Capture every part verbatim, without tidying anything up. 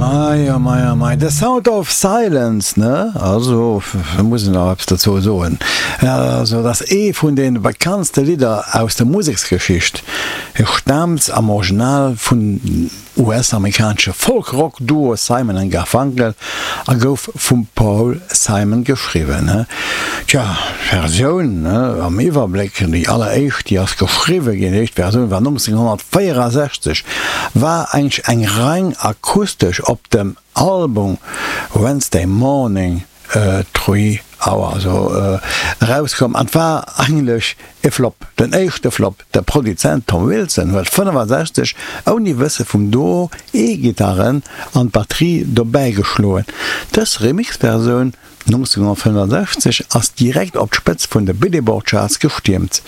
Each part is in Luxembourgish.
Mei oh mei oh mei, The Sound of Silence, ne? Also, da muss een nach eppes dozou soen. Also, dat ass ee vun de bekanntste Lidder aus der Museksgeschicht. E staamt am Original vun U S-amerikanesche Folk-Rock-Duo Simon and Garfunkel a gouf vum Paul Simon geschriwwen. Tja, d'Versioun am Iwwerbléck, déi alleréischt, déi ass geschriwwe ginn, déi éischt Versioun war nonzénghonnertvéierasechzeg, war eigentlech eng reng akustesch op dem Album Wednesday Morning Three Hour also erauskomm an war eigentlech e Flop, den éischte Flop. De Produzent Tom Wilson huet fënnefasechzeg ouni Wësse vum Duo E-Gitarren an d'Batterie dobäi geschloen. Dës Remix-Versioun nonzénghonnertfënnefasechzeg ass direkt op d'Spëtz vun de Billboard Charts gestiermt.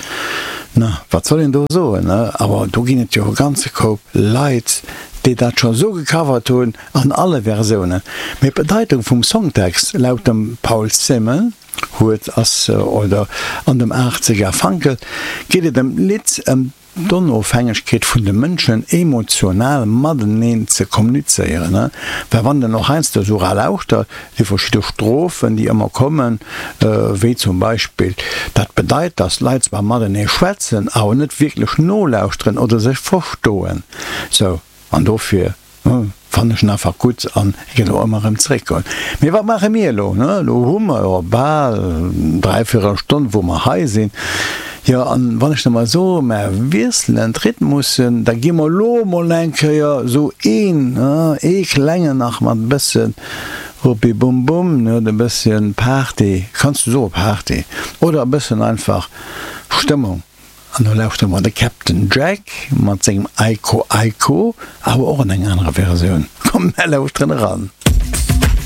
Na, wat soll een do soen, ne? Awer do ginn et jo e ganze Koup Leit, déi dat scho sou gecovert hunn an alle Versiounen. Mee d'Bedeitung vum Songtext laut dem Paul Simon huet ass, oder an dem Art Garfunkel geet et ëm d'Lidd ëm d'Onofhängegkeet vun de Mënschen emotional mateneen ze kommunizéieren. Well wann den och heiansdo esou era lauschtert, déi verschidde Strophen, déi ëmmer kommen, wéi zum Beispill, dat bedeit, dass d'Leit zwar matenee schwätzen, awer net wierklech nolauschteren oder sech verstoen. Sou, an dofir fannen ech en einfach gutt an ginn och ëmmer erëm zeréckgoen. Mee wat maache mir elo? Elo hu mer jo bal dräivierel Stonn, wou mer hei sinn. Jo, an wann ech da mol soen, mer wiesselen d'Rhythmussen, da gi mer elo mol eng Kéier esou een, ee klengen nach mat e bësse Ruppi-Bum-Bum, ne, e bësschen Party, kanns du soe Party, oder e bëssen einfach Stëmmung. An do lauschtere mer de Captain Jack mat sengem Iko Iko, awer och an enger anerer Versioun. Komm, mer lauschteren eran.